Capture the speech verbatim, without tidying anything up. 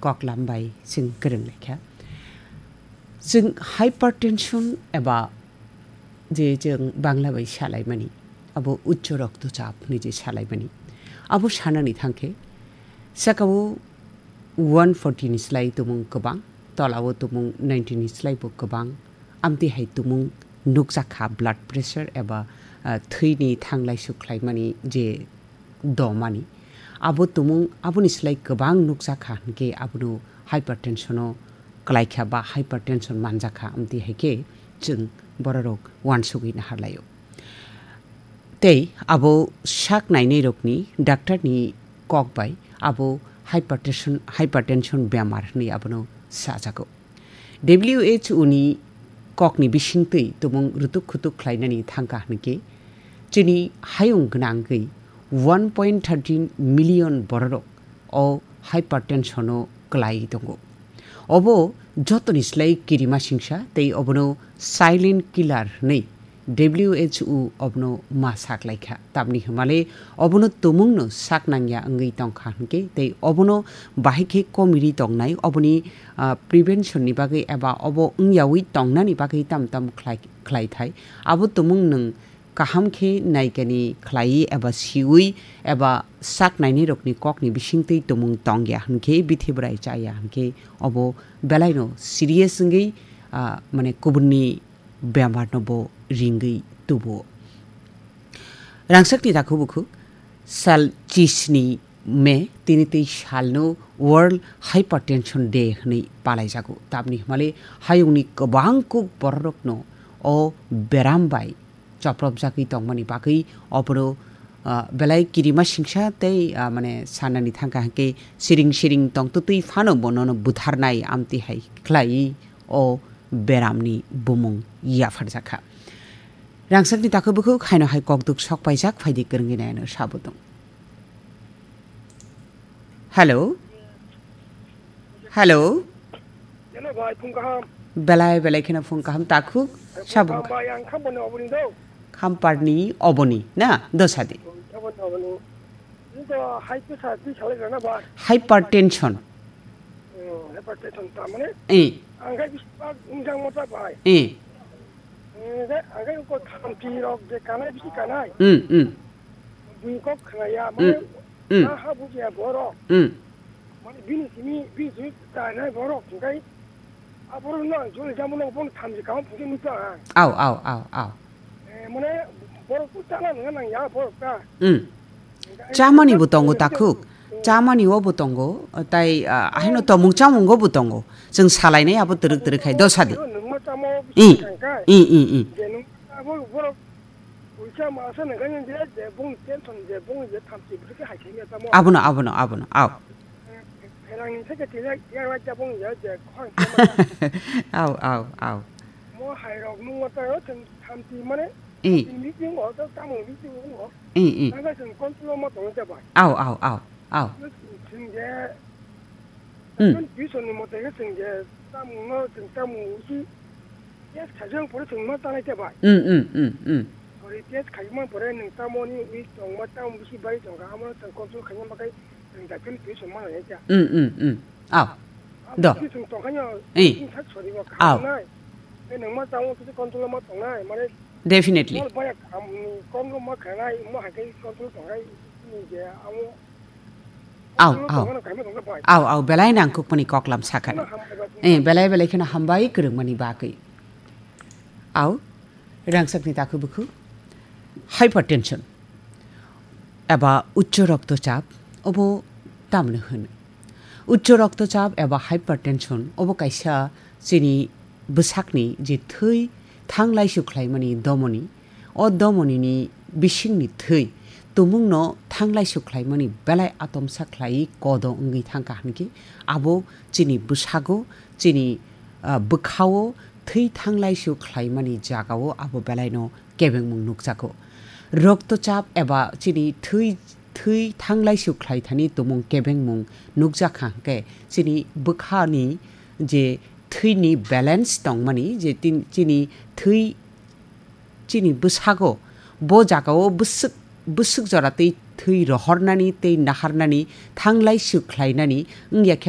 koklam bai chwng kwrwng laikha. Chwng hypertension eba je chwng Bangla bai salaimani, abo uccho roktochap hinwi je salaimani, abo sanani thangkhe, sakao one forty ni slai tumung kwbang, tolao tumung ninety ni slai bo kwbang, amtwi hai tumung nukjakha blood pressure eba, ah, thwini thanglai suk khlaimani je domani. Abo tumung, aboni slai kwbang nukjakha hinkhe abono hypertension o kwlaikha ba hypertension manjakha, amtwi hai khe chwng bororok uansugwi naharlaio. Tei abo sak nainairokni doctor ni kok bai abo hypertension, hypertension bemar hinwi abono sajago. W H O ni kokni bisingtwi tumung rutuk khutuk khlainani thangkha hinkhe, chini hayung gwnangwi one point thirteen million bororok o hypertension o kwlaiwi tongo. Obo jotoni slai kirima singsa tei obono silent killer hinwi W H O obono ma saklaikha. Tamni hwnmale obono tumungno sak nangya wngwi tongkha hinkhe tei obono bahai khe komiri tongnai, oboni, ah, prevention ni bagwi eba obo wngyawi tongnani bagwi tam tam khlai, khlaithai. Abo tumung nwng kaham khe naikani khlaiwi eba siwi eba sak nainairokni kokni bisingtwi tumung tongya hinkhe bithi bwrai chaya hinkhe obo belaino serious wngwi, ah, mane kubunni bemarno bo ringwi tubuo. Rangchakni takhuk bukhuk sal chisni May tini tei salno World Hypertension Day hwnwi palaijago. Tamni hwnmale hayungni kwbang kuk bororokno o beram bai chopropjagwi tongmani bagwi obono, ah, belai kirima singsa tei, ah, mane sanani thangkha hinkhe siring siring tongtwtwi phano bonono butharnai amtwi hai khlaiwi o beramni bumung yapharjakha. Rangchakni takhuk bukhuk haino hai kokduk sok paijak, phaidi kwrwngwi naino sabo tong. Hello? Hello? Hello, bhai, phung kaham. Belai, belai kheno phung kaham takhuk, Phung sabo kaham, bhai, ang Khampani oboni do. Khamparni oboni, na? Dosadi. Khampani oboni. Ini to high pressure twi salai rana, bhai. Hypertension. Hmm, hypertension ta mane? Eh. Ang khai bis pa unjang mota, bhai. Eh. Eh, ang khai ko thamchi rok je kanai bisi kanai. Hmm, hmm. Bui kok khnaya, mane, Mm, mm. Ha, ha bujiya borok. Mm. Mane bini simi, bini simi tanai borok, hingkai aborok no ang joli jamo no bong thamji kaham phungkhe nukha ang. Au, au, au, au. Eh, mane borok tu chana nang nang ya borok ta. Mm. Hingkai Chamani bo tongo borok takhuk. Mm. Chamani o bo tongo, tai, ah, ahino tomung chamung o bo tongo. Chwng salainai abo twrwk twrwk khai, dosadi. Nungma chamo Mm. bisi thangkai. Mm, mm, mm. Je nung abo borok Puisa masa nangkha je, je bung tension je bung je thamchi bwrwkhe hai khe tamo. Abono, abono, abono, au. Pherangni theke tila yang lai ta bung je, je khoi. Au, au, au. Mo hai rok nung mata ro thang thamchi mane. I. Thamchi meeting o to tamo meeting o. I, i. Nangkha sing control ma tong ta bai. Au, au, au, au. Sing je Hmm. Tuition ni mote khe chwng je tamungno chwng tamung usi test khaijak pore chwng ma tanai te bai. Hmm, hmm, hmm, hmm. Pore test khaima pore nwng tamoni week tongma tamung bisi bai tongkha, amo chwng control khaima bagwi chwng daphil tuition ma nai kha. Hmm, hmm, hmm. Aw. Abo Do. Chwng tongkha no Eh. Chwng sak sori bo Aw. Kha nai. Tei nwng ma tamung khe control ma tongnai, mane Definitely. Bol baya kam ni kong ma khanai, mo hai khe control tongnai ni je amo Au, au. Au, au, belai nangkukmani koklam sakha. Eh, belai, belai kheno hambai kwrwngmani bagwi. Au, rangchakni takhuk bukhuk. Hypertension. Eba uccho roktochap, obo tamno hwn. Uccho roktochap eba hypertension, obo kaisa chini bwsakni je thwi thanglaisu khlaimani domoni, o domonini bisingni thwi tumungno thanglaisu khlaimani belai atomsa khlaiwi kodo wngwi thangkha hinkhe, abo chini bwsago, chini, ah, bwkhao thwi thanglaisu khlaimani jagao abo belaino kebengmung nukjago. Roktochap eba chini thwi, thwi thanglaisu khlaithani tumung kebengmung nukjakha hinkhe, chini bwkhani je thwini balance tongmani, je tin-, chini thwi, chini bwsago, bo jagao bwswk, bwswk jora tei thwi rohornani tei naharnani, thanglaisu khlainani wngya khe